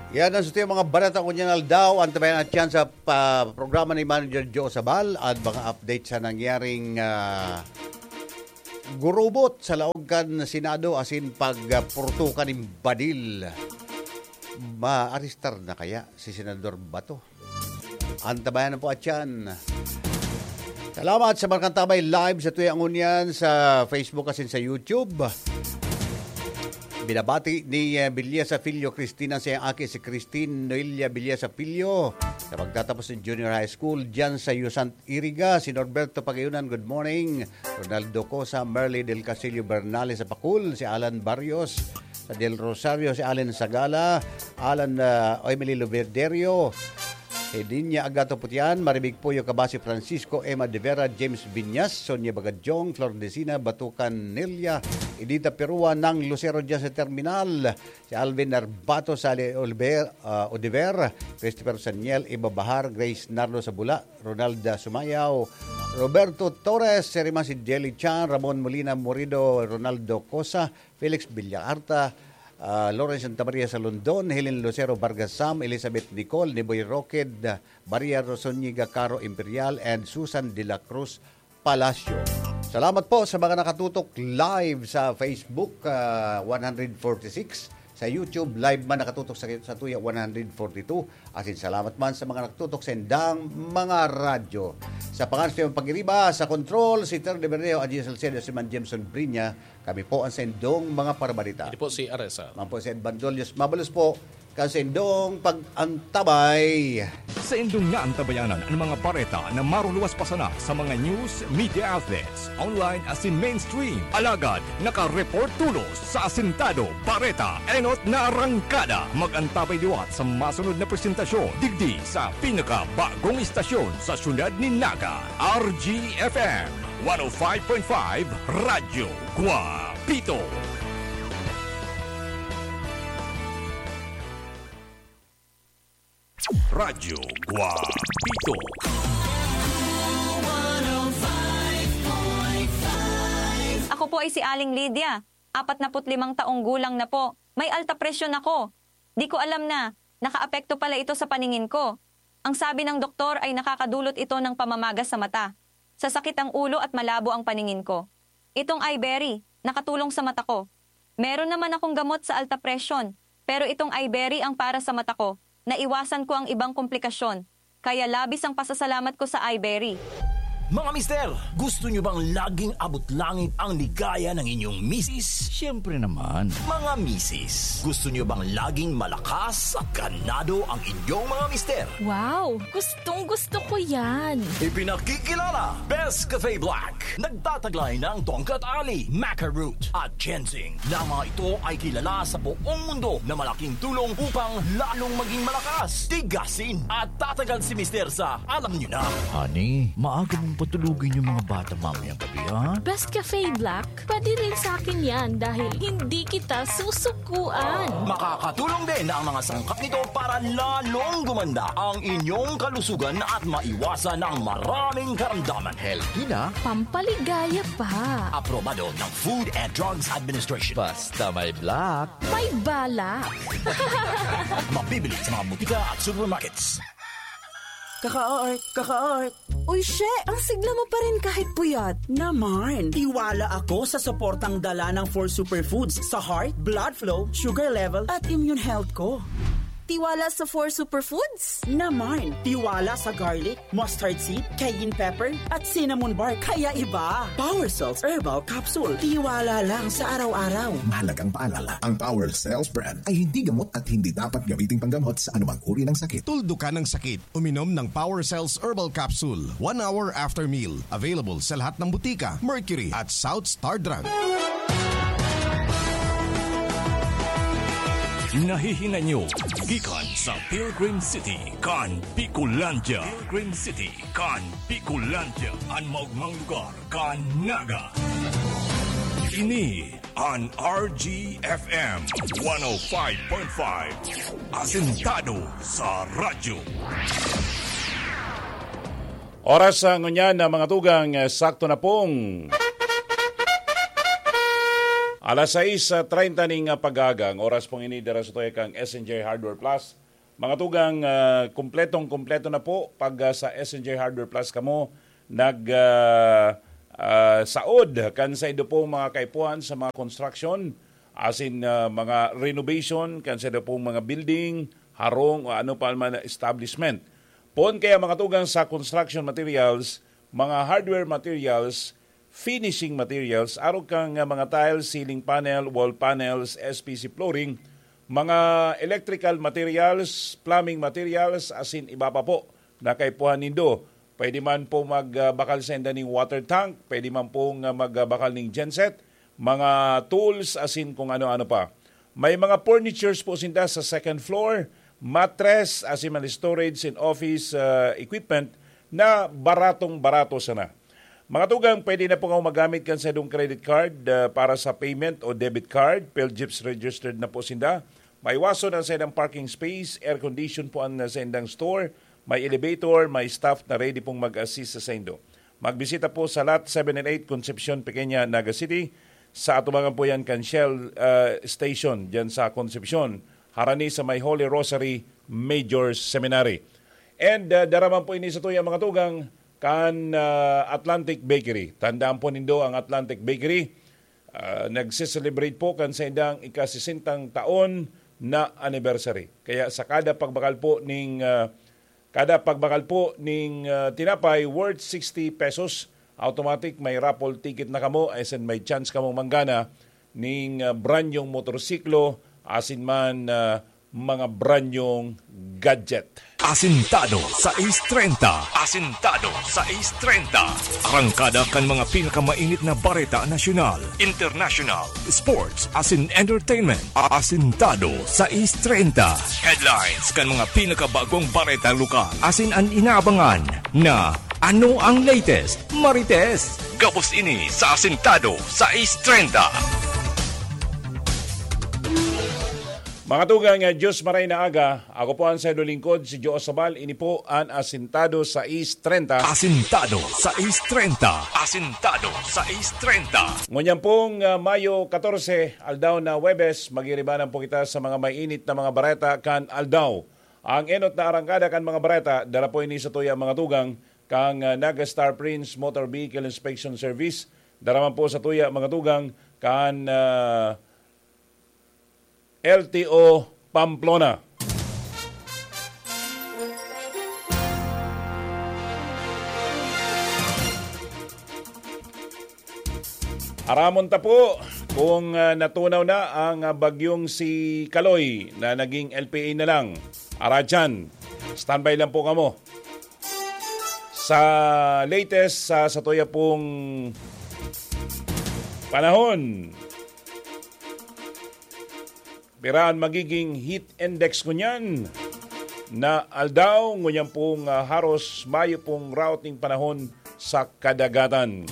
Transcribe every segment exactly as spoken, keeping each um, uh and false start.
Yan ang sa mga bareta ko niyan aldaw. Antabayan at yan sa pa, programa ni Manager Joe Sabal at mga update sa nangyaring ah, gurubot sa laog kan Senado asin pagpurtukan nin badil. Maarestar na kaya si Senador Bato? Antabayan na po at yan. Salamat sa mga kantabay live sa Tuya Ngunyan sa Facebook asin sa YouTube. Binabati ni eh, Villasa Filho Cristina sa iyang aki si Christine Noelia Villasa Filho sa pagtatapos ng junior high school dyan sa Yusant Iriga. Si Norberto Pagayunan, good morning. Ronaldo Cosa, Merly Del Castillo Bernales sa Pakul, si Alan Barrios, sa Del Rosario, si Allen Sagala, Alan ah, Emily Luberderio, Hedinia Agato Putian, Maribig Puyo Kabasi Francisco, Emma De Vera, James Viñas, Sonia Bagadyong, Flor Decina, Batukan Nelia, Edita Perua, Nang Lucero dyan sa terminal, si Alvin Narbato, Sally Oliver, ah, Oliver, Christopher Saniel, Iba Bahar, Grace Nardo Sabula, Ronalda Sumayaw, Roberto Torres, Serima si Jelly Chan, Ramon Molina Morido, Ronaldo Cosa, Felix Villacarta, ah, Lawrence Santa Maria sa London, Helen Lucero Vargas Sam, Elizabeth Nicole, Niboy Roqued, Maria Rosoniga Caro Imperial, and Susan de la Cruz Palacio. Salamat po sa mga nakatutok live sa Facebook, ah, one forty-six, sa YouTube live man nakatutok sa, sa Tuya one forty-two. Asin salamat man sa mga nakatutok sa indang mga radyo. Sa pangalan sa pag-iriba, sa control, si Ter de Berreo, Adji Salcedo, si Man Jameson Brinya, kami po ang sa indong mga parabalita. Hindi po si Aresa. Man po si Ed Bandolios. Mabalos po, kan sa indong pag-antabay. Sa indong naantabayanan ang mga bareta na maruluwas pa sana sa mga news, media outlets, online asin mainstream. Alagad, nakareport tulos sa Asintado, Bareta, Enot na Arangkada. Mag-antabay liwat sa masunod na presentasyon digdi sa pinakabagong istasyon sa siyudad ni Naga, R G F M one oh five point five Radyo Guapito. Radyo Guapito. Ako po ay si Aling Lydia. Apat na put limang taong gulang na po. May alta presyon ako. Di ko alam na nakaapekto pala ito sa paningin ko. Ang sabi ng doktor ay nakakadulot ito ng pamamaga sa mata. Sasakit ang ulo at malabo ang paningin ko. Itong Iberry, nakatulong sa mata ko. Meron naman akong gamot sa alta presyon, pero itong Iberry ang para sa mata ko. Naiwasan ko ang ibang komplikasyon, kaya labis ang pasasalamat ko sa Iberry. Mga mister, gusto nyo bang laging abot langit ang ligaya ng inyong misis? Siyempre naman. Mga misis, gusto nyo bang laging malakas at ganado ang inyong mga mister? Wow! Gustong gusto ko yan! Ipinakikilala, Best Cafe Black. Nagtataglay ng tongkat ali, maca root, at ginseng, na mga ito ay kilala sa buong mundo na malaking tulong upang lalong maging malakas, tigasin, at tatagal si Mister sa alam nyo na. Honey, maaga mong patulugin yung mga bata mamayang gabi, ha? Best Cafe Black, pwede rin sa akin yan dahil hindi kita susukuan. Makakatulong din ang mga sangkap nito para lalong gumanda ang inyong kalusugan at maiwasan ang maraming karamdaman. Healthy na. Pampaligaya pa. Aprobado ng Food and Drugs Administration. Basta may black. May balak. Mabibili sa mga butika at supermarkets. Kaka-art, kaka-art. Uy, she, ang sigla mo pa rin kahit puyat. Naman, tiwala ako sa suportang dala ng four superfoods sa heart, blood flow, sugar level, at immune health ko. Tiwala sa four superfoods? Naman, tiwala sa garlic, mustard seed, cayenne pepper, at cinnamon bark. Kaya iba. Power Cells Herbal Capsule. Tiwala lang sa araw-araw. Mahalagang paalala, ang Power Cells brand ay hindi gamot at hindi dapat gamiting panggamot sa anumang uri ng sakit. Tuldukan ang sakit. Uminom ng Power Cells Herbal Capsule one hour after meal. Available sa lahat ng butika, Mercury at South Star Drug. Nahihinay nyo gikan sa Pilgrim City kan Bicolandia. Pilgrim City kan Bicolandia, an maogmang lugar kan Naga. Ini an R G F M one oh five point five, asentado sa radyo. Oras sa ngunyan na mga tugang, eh, sakto na pong Alas sais treinta ning, ah, pag-aga, ang oras pong ini dira sa tuya kang S N J Hardware Plus. Mga tugang, ah, kumpletong-kumpleto na po pag, ah, sa S N J Hardware Plus kamo nag, ah, ah, saod kan saindo pong mga kaipuhan sa mga construction, asin, ah, mga renovation, kan saindo pong mga building, harong o ano pa man na establishment. Poon kaya mga tugang sa construction materials, mga hardware materials, finishing materials, arog kan, ah, mga tiles, ceiling panel, wall panels, S P C flooring, mga electrical materials, plumbing materials, asin iba pa po na kaipuhan nindo. Pwede man po magbakal sa inda ning water tank, pwede man pong, ah, magbakal ning genset, mga tools, asin kung ano-ano pa. May mga furnitures po sinda sa second floor, mattress, asin mga storage and office, ah, equipment na baratong-barato sana. Mga tugang, pwede na po kamo magamit kan saindong credit card, ah, para sa payment o debit card. PhilGeebs registered na po sinda. Maiwason ang saindang parking space, air condition po ang saindang store, may elevator, may staff na ready pong mag-assist sa saindo. Magbisita po sa Lot seven and eight, Concepcion, Pequeña, Naga City. Sa atubangan po yan kan Shell, ah, Station, dyan sa Concepcion. Harani sa may Holy Rosary Major Seminary. And, ah, dara man po ini sa tuya, mga tugang, kan, ah, Atlantic Bakery. Tandaan po nindo ang Atlantic Bakery. Ah, nagse-celebrate po kan saindang ikasisentang taon na anniversary. Kaya sa kada pagbakal po ning, ah, kada pagbakal po ning, ah, tinapay worth sixty pesos, automatic may raffle ticket na kamo, asin may chance kamong manggana ning, ah, brand nyong motorsiklo, asin man, ah, mga brand nyong gadget. Asintado sais treinta. Asintado sais treinta. Arangkada kan mga pinakamainit na bareta nasyonal, international, sports, asin entertainment. Asintado sais treinta. Headlines kan mga pinakabagong bareta lokal. Asin an inaabangan na ano ang latest, Marites. Gabos ini sa Asintado sais treinta. Mga tugang, ah, Diyos maray na aga. Ako po ang saindo lingkod, si Joe Sabal. Ini po an Asintado sais treinta. Asintado sais treinta. Asintado sais treinta. Ngunyan pong, ah, Mayo katorse, aldaw na Huwebes, magiribanan po kita sa mga mainit na mga bareta kan aldaw. Ang enot na arangkada kan mga bareta, dara po ini sa tuya, mga tugang, kan, ah, Naga Star Prince Motor Vehicle Inspection Service. Dara man po sa tuya, mga tugang, kan, ah, L T O Pamplona. Aramon ta po kung, ah, natunaw na ang, ah, bagyong si Kaloy na naging L P A na lang. Aradyan, standby lang po kamo. Sa latest, sa, sa tuya pong panahon, pira an magiging heat index ngunyan na aldaw? Ngunyan pong, ah, haros mayo pong route ning panahon sa kadagatan.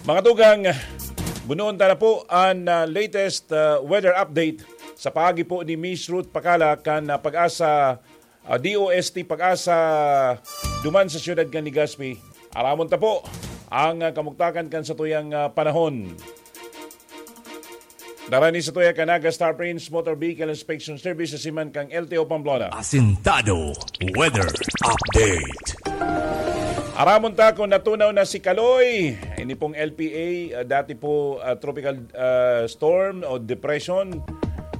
Mga tugang, bunoon ta na po an, ah, latest, ah, weather update sa paagi po ni Miss Ruth Pakala kan, ah, Pag-asa, ah, D O S T Pag-asa duman sa siyudad kan Legazpi. Aramon ta po ang, ah, kamugtakan kan satuyang, ah, panahon. Dara ni sa tuya kan Naga Star Prince Motor Vehicle Inspection Service sa siman kan L T O Pamplona. Asintado Weather Update. Aramon ta kung natunaw na si Kaloy. Ini pong L P A, ah, dati po, ah, tropical, ah, storm o depression,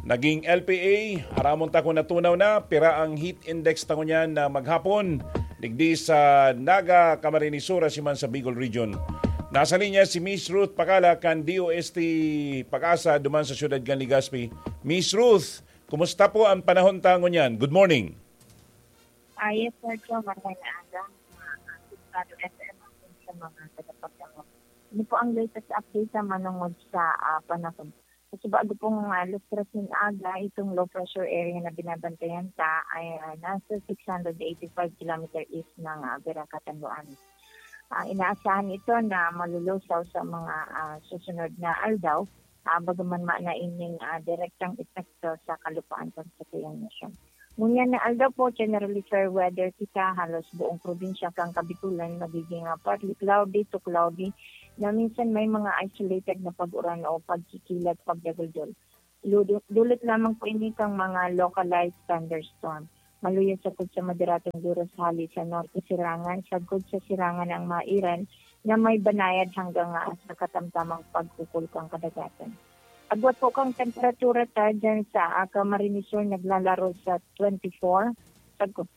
naging L P A. Aramon ta kung natunaw na, pira ang heat index ta ngunyan na maghapon, digdi sa Naga, Camarines Sur, asin man sa Bicol Region. Nasa linya si Miss Ruth Pakala kan D O S T Pag-asa duman sa siyudad kan Legazpi. Miss Ruth, kumusta po ang panahon ta ngunyan? Good morning. Ah, yes, Sir Joe. Maray na aga, mga, ah, Sintado F M, asin sa mga tagapagdangog. Ano po ang latest update sa manungod sa, ah, panahon? Sa subago pong, ah, alas tres nin aga, itong low pressure area na binabantayan ta ay, ah, nasa six hundred eighty-five kilometer east ng, ah, Veracatan, Loanes. Ah, inaasahan ito na malulusaw sa mga, ah, susunod na aldaw, ah, bagaman mayo na ining, ah, direktang epekto sa kalupaan kan satuyang nasyon. Ngunyan na aldaw po, generally fair weather kita. Halos buong probinsya kan Kabikulan magiging, ah, partly cloudy to cloudy na minsan may mga isolated na pag-uran o pagkikilat, pagdaguldol. Ludu-, dulot lamang po ini kang mga localized thunderstorm. Maluya sagkod sa moderadong duros hali sa norte sirangan, sagkod sa sirangan ang mairan na may banayad hanggang, ah, sa katamtamang pagkukul kan kadagatan. Agwat po kang temperatura ta dyan sa, ah, Camarines Sur, naglalaro sa twenty-four, sagkod,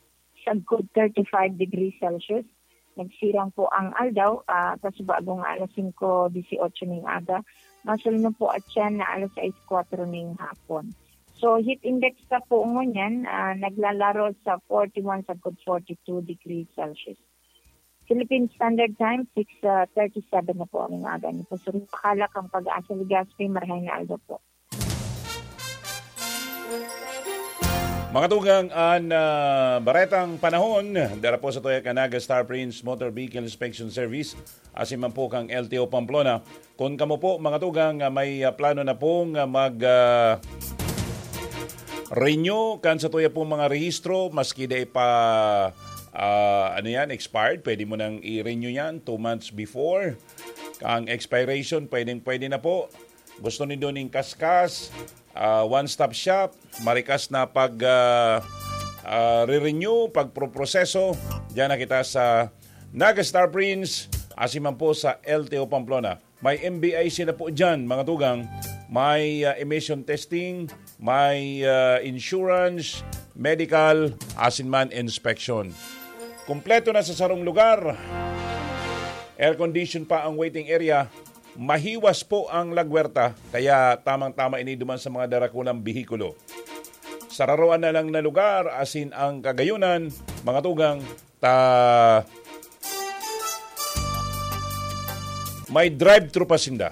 sagkod thirty-five degrees Celsius. Nagsirang po ang aldaw, ah, kasubago nga alas singko dieciocho ning aga. Masulno po at siya na alas sais kwatro ning hapon. So, heat index ta po ngunyan, ah, naglalaro sa forty-one sagkod forty-two degrees Celsius. Philippine Standard Time, six thirty-seven na po ang aga. Ni Pastor Pakala kang Pag-asa Legazpi, marahay na aldaw po. Mga tugang, an ah, baretang panahon, dara po sa tuya kan Naga Star Prince Motor Vehicle Inspection Service, asin man po kang L T O Pamplona. Kung kamo po, mga tugang, ah, may ah, plano na pong ah, mag ah, renew kan sa tuya pong mga rehistro, maski dai pa ah, ano yan, expired, pwede mo nang i-renew yan two months before. Ang expiration, pwedeng pwede na po. Gusto nindo ning kaskas, ah, one-stop shop, marikas na pag ah, ah, re-renew, pagproproseso. Diyan na kita sa Naga Star Prince, asin man po sa L T O Pamplona. May M B I C na po dyan, mga tugang. May ah, emission testing, may ah, insurance, medical, asin man inspection. Kompleto na sa sarong lugar. Air condition pa ang waiting area. Mahiwas po ang lagwerta, kaya tamang-tama ini duman sa mga darakulang behikulo. Sararoan na lang na lugar, asin ang kagayunan, mga tugang, ta may drive-thru pa sinda.